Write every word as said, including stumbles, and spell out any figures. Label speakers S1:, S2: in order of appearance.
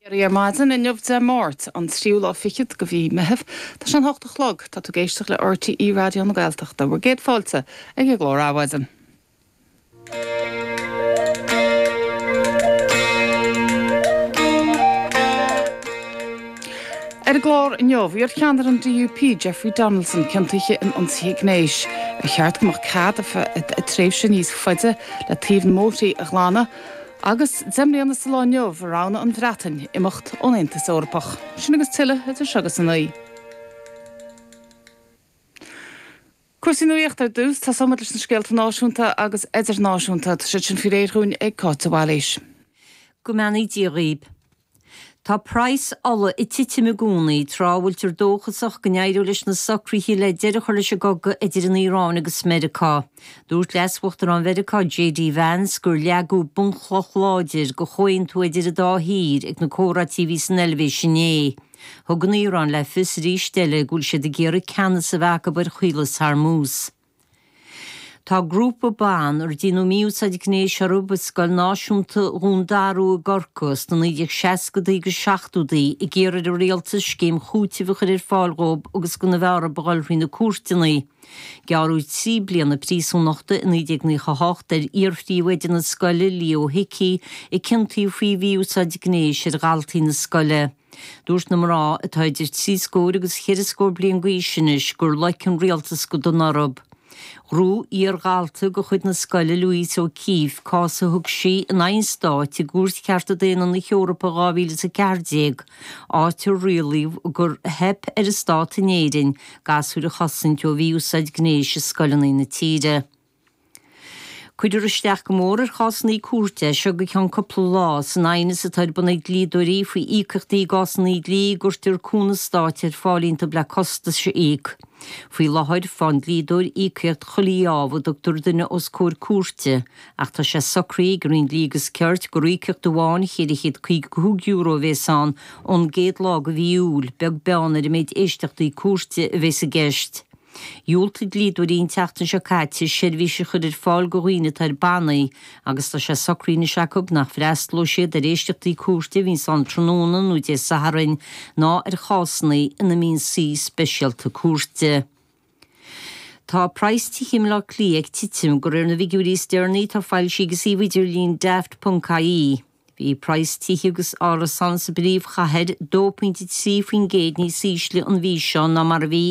S1: Ar maidin inniu Dé Máirt an tríú lá fichead de mhí Mheithimh, Tá sé an hocht a chlog tá tú ag éisteacht le RTÉ Raidió na Gaeltachta, bhur gcéad fáilte ag an gclár Adhmhaidin. Ar an gclár inniu iarcheannaire an DUP Jeffrey Donaldson ciontaithe in ionsaithe gnéis. Ar cheart go mbeadh cead tréimhse níos faide le taobh na mbóithre a ghlanadh, agus deich mbliana sa lá inniu a roghnaigh an Bhreatain imeacht ón Aontas Eorpach. Sin agus tuilleadh idir seo agus a naoi. Cúrsaí nuachta ar dtús, tosóimid leis na scéalta náisiúnta agus idirnáisiúnta, tá siad sin faoi réir dhúinn ag Cáit de Bhailís.
S2: Go mbeannaí Dia dhaoib. Tá praghas ola ag titim i gcónaí tráth a bhfuiltear dóchasach go n-éireoidh leis na socruithe le deireadh a chur leis an gcogadh idir an Iaráin agus Meiriceá. Dúirt Leas-Uachtarán Mheiriceá JD Vance gur leagadh bunchloch láidir do chomhaontú idir an dá thír ag na comhráití a bhí san Eilvéis inné. Thug an Iaráin le fios arís eile go bhfuil siad ag iarraidh ceannas a bheith acu ar Chaolas Hormuz. Tá grúpa ban ar deineadh mí-úsáid gnéis orthu i Scoil Náisiúnta Dhún Darú i gCorcaigh sna naoi déag seascadaí agus seachtódaí ag iarraidh ar an rialtas scéim chúitimh a chur ar fáil dhóibh agus gan a bheith orthu a dhul thrí na cúirteanna. Gearradh trí bliana príosúnachta i naoi déag naocha a hocht ar iar-phríomhoide na scoile, Leo Hickey, a ciontaíodh faoi mhí-úsáid gnéis ar dhaltaí na scoile. Dúirt na mná, atá idir trí scór agus cheithre scór bliain d'aois anois, gur loic an rialtas go dona orthu. Ghnóthaigh iar-dhalta de chuid na scoile, Louise O'Keeffe, cás a thug sí in aghaidh an stáit i gCúirt Chearta Daonna na hEorpa dhá mhíle is a ceathair déag, áit ar rialaíodh gur theip ar an stát in Éirinn gasúir a chosaint ó mhí-úsáid gnéis i scoileanna na tíre. Cuirfear isteach go mór ar chásanna cúirte as seo go ceann cúpla lá san aighneas atá ar bun ag dlíodóirí faoi íocaíochtaí i gcásanna dlí a gcuirtear cúnamh stáit ar fáil iontu le costais a íoc. Faoi láthair, faigheann dlíodóir íocaíocht chuile gheábh a dtugtar duine os comhair cúirte ach tá sé socraithe ag an Roinn Dlí agus Cirt gur íocaíocht amháin cheithre chéad caoga cúig euro a bhéas ann ón gcéad lá de mhí Iúil, beag beann ar an méid éisteachtaí cúirte a bhéas i gceist. Dhiúltaigh dlíodóirí an tseachtain seo caite seirbhís a chur ar fáil do dhaoine atá ar bannaí agus tá sé socraithe anois acu nach bhfreastalóidh siad ar éisteachtaí cúirte a bhíonns ann tráthnóna nó Dé Sathairn ná ar chásanna ina mbíonn suí speisialta cúirte. Tá praghas tithe i mBleá Cliath ag titim de réir na bhfigiúirí is deireanaí atá foilsithe ag an suíomh idirlín Daft ponc ie. Bhí praghas tithe agus árasán sa bpríomhchathair dó pointe trí faoin gcéad níos ísle an mhí seo ná mar a bhí